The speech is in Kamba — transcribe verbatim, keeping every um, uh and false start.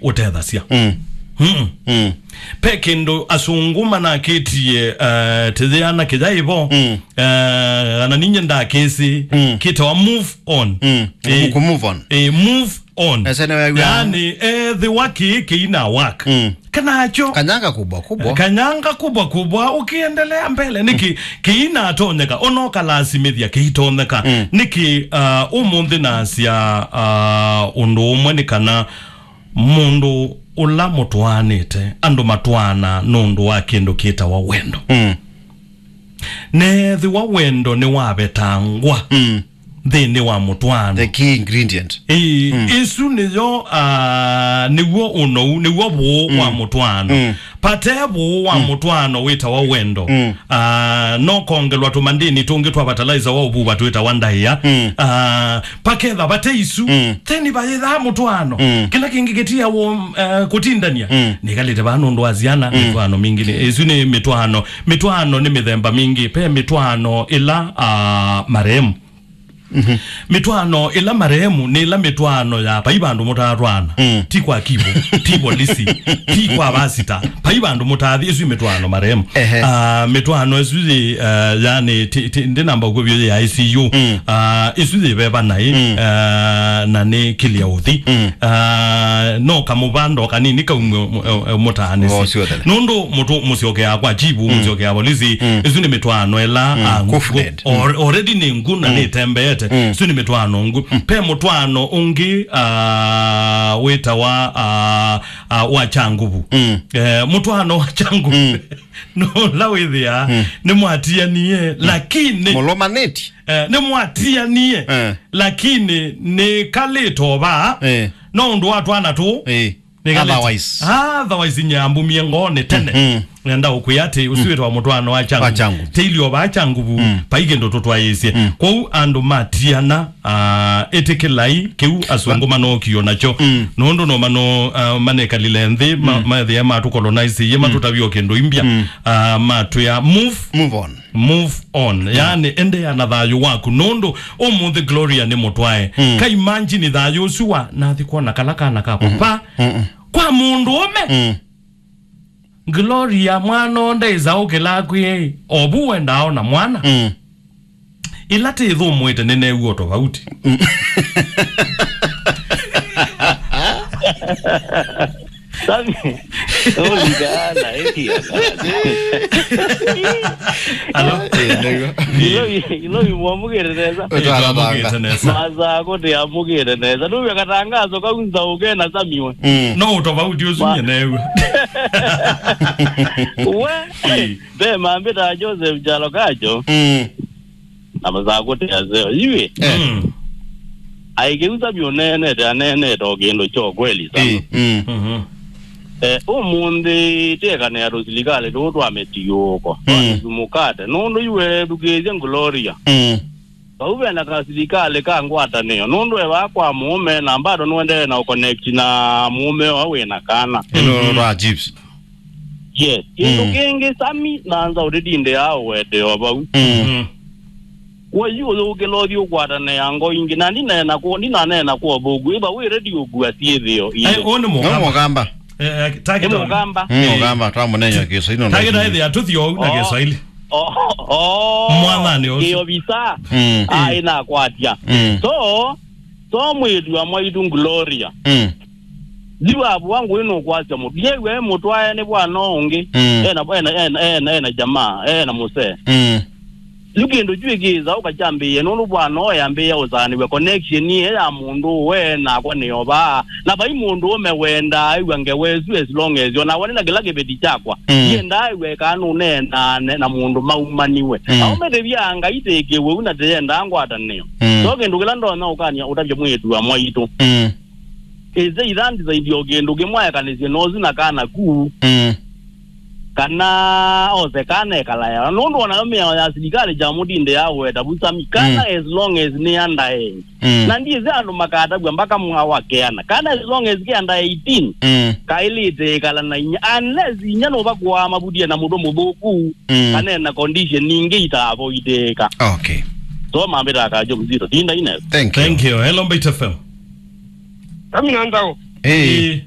ũtethasya. Mm. Mm. Mm. Pe kĩndũ asũngũ manakĩtie, eh, tĩyĩana kĩya ĩvo, mm, eh, ana ninye ndakĩsĩ, mm, kĩtawa move on. Mm. Eh, ku move on. Eh, move on. Ese nĩ wew'a. Yaani, ethĩwa kĩĩ kĩina work. Mm. Kanacho. Kanyanga kubwa kubwa. Kanyanga kubwa kubwa, ũkĩendelea mbele. Nĩkĩ, mm, kĩinatonyeka, ona ũkalasimĩthya kĩitonyeka. Mm. Nĩkĩ, ah, ũmũnthĩ nasya, ah, ũndũ ũmwe nĩ kana mũndũ ũla mũtwaanĩte, andũ matwaana nũndũ wa kĩndũ kĩtawa wendo. Mm. Neethĩwa wendo nĩwavetangwa, mm, nthĩnĩ wa mũtwaano. The key ingredient. Ĩĩ, mm, ĩsu nĩyo, ah, nĩw'o ũnou, nĩw'o vũũ wa, mm, mũtwaano. Mm. Pate vũũ wa, mm, mũtwaano wĩtawa wendo. Mm. Ah, no kongelwa tũmandĩni tũngĩ twa fertilizer wa ũvuva twĩtawa ndaĩa. Mm. Ah, paketha vate isu. Mm. Then vayĩthaa mũtwaano. Mm. Kĩla kĩngĩ kĩtiawo, eh, kũtindania. Mm. Nĩkalĩte vaa nũndũ wa syana, mm, mĩtwaano mingĩ. Nĩ, ĩsu nĩ mĩtwaano. Mĩtwaano nĩ mĩthemba mingĩ. Pe mĩtwaano ĩla, ah, marehemu. Mhm. Mĩtwaano ĩla marehemu nĩ ĩla mĩtwaano ya vai vandũ mũtatwaana. Mm. Ti kwa kibo, ti polisi, ti kwa vasita. Vai vandũ mũtathi, ĩsu nĩ mĩtwaano marehemu. Ehe. Ah, mĩtwaano ĩsu yĩ, ah, yani, ti, ti, ndĩnamba ũkw'o vyũ yĩ I C U. Mm. Ah, ĩsu yĩ veva naĩ, mm, ah, na nĩ kĩlya ũthi. Mm. Ah, no kamũvando kanini kaumwe mũ-, eh, eh, mũtaanĩsye. Oh, sure, then. Nũndũ mũtũ mũsyokeaa kwa chibu, mm, mũsyokeaa polisi, mm, ĩsu nĩ mĩtwaano ĩla, mm, ah, kufned, al-, already nĩ ngu na, mm, nĩtembeete. Mm. Ĩsu nĩ mĩtwaano ngu. Mm. Pe mũtwaano ũngĩ, ah, wĩtawa, ah, ah, wa kya nguvu. Mm. Eh, mũtwaano wa kya nguvu. Mm. No ũla wĩthĩaa, mm, nĩmwatianie, mm, lakini mũlũmanĩti. Eh, nĩmwatianie, eh, lakini nĩkalĩte o vaa. Eh. No ũndũ wa twana tũũ, eh, nĩkalĩte. Otherwise. Ah, otherwise nyambumie ngoonĩ tene. Mm. Nenda ũkwĩa atĩ, ũsu, mm, wĩtawa mũtwaano wa kya nguvu. Wa kya nguvu. Tĩili o vaa kya nguvu, mm, vai kĩndũ tũtwaĩĩsye. Mm. Kwoou andũ matiana, ah, ĩtĩkĩlai kĩu asũngũ, ba- manookio nakyo. Mm. Nũndũ no mano, ah, manekalile nthĩ, ma-, mm, methĩa matũkolonaisie, mm, matũtavie o kĩndũ imbya. Mm. Ah, matwĩa, move. Move on. Move on. Mm. Yani, endeea na thayũ waku. Nũndũ ũmũnthĩ Gloria nĩ mũtwae. Mm. Ka imagine thayũ ũsu wa, nathi kwona kala kana kakwa. Mm-hmm. Pa, mm-mm, kwa mũndũ ũme. Mm. Gloria, mwana ũũ ndaĩsa ũkĩla kwĩ, o vu wendaa ona mwana. Mm. Ĩla tĩthũmũĩte nĩneew'a o tofauti. Mm. Sami, ũlikaana, ĩkia. Alo? Eh, nĩguo. Ilo, ilo imwamũkĩte nesa. Ĩtwaravanga. Ĩtwamũkĩte nesa. Masako tĩamũkĩte nesa. Nũvya katangazo kau nzaũke na Sami we. Mm. No ũtofauti ũsu ma- nye neew'a. We, eh, ve mambĩtaa Joseph Kyalo Kacho. Mm. Na masako tĩaseo. Iwe. Eh. Mm. Aikĩu Sami ũneenete, aneenete o kĩndũ kyo kweli sana. Eh, mm. Mhm. Eh, ũmũnthĩ tĩekanĩa tũsilikalĩ tũũ twa mĩtiũũko, twa, mm, mĩsumũkate. Nũndũ iwe thukĩĩsye Gloria. Mm. Vau vena kasilikalĩ ka ngwatanĩo. Nũndũ e vaa kwa mũũme, na bado nũendee na ũconnect na mũũme ũla wĩ na kana. Ĩno, mhm, twa chips. Yes. Kĩndũ, mm, kĩngĩ, Sami, na nza ũtĩtindĩaa ũwete o vau. Mm. Mm. Kwa yu ũyũkĩla ũthi ũkwatanĩa ngo ingĩ, na ndinaneena kũ-, ndinaneena kwa ũthũku. Ĩva wĩ ready ũkua syĩthĩo. Ai, ũũ nĩ no mũkamba. Mũkamba. Eh, eh, take nĩ down. Mũkamba. Mm, eh, mũkamba, twamũneeny'a kĩso ino. Take down, ĩthĩa tũthi oou na, oh, Kĩswaili. Oh, oh. Mwathani ũsu. Kĩovisa. Mm. Ai, nakwatya. Mm. So, so mwĩĩtu wa mwaitũ Gloria. Mm. Yu avũa ngũĩ nũkwasya mũndũ. Yew'a e mũtwae nĩ vwana ũngĩ. Mm. Ena, ena, ena, ena, ena jamaa, ena mũsee. Mm. Yu kĩndũ kyu ĩkĩĩsa ũkakyambĩĩe, nũndũ vwana ũũ yambĩĩa ũsaanĩw'a connection ĩĩ ya mũndũ ũũ we nakwa nĩ o vaa. Na vai mũndũ ũme wendaa ew'a ngewa ĩsu as long as o nakwa nĩ na kĩla kĩveti kyakwa. Mm. Ndiendaa ew'a ĩkaa nũneenaa ne-, na mũndũ maumaniwe. Mm. Aũme tĩvyaa Ngai tĩkĩw'e ũu na tĩyendaa ngwatanĩo. Mm. So kĩndũ kĩla ndonya ũkany'a ũtavya mwĩĩtu wa mwaitũ. Mm. Ĩse ithandisaithya o kĩndũ kĩmwe ekanĩsye nosu na kana ku. Mm. Kana ose kana ekalaea. Nũndũ onayo mĩao ya silikalĩ kya mũtindĩ ya ũweta vu Sami. Kana, mm, as long as nĩ under age. Mm. Na ndiĩsĩ andũ makatavw'a mpaka mwa wa keana. Kana as long as ke under eighteen, mm, kaĩlĩte ĩkala na inya. Unless inya nũva kũaa mavutie na mũndũ mũthũku, mm, kana ena condition ingĩ itaavoidĩĩka. Okay. So mambĩtaa Kajo Mzito. Tinda ine. Thank you. Thank you. Hello, Mbaitu F M. Sami na Nzau. Hey. Hey.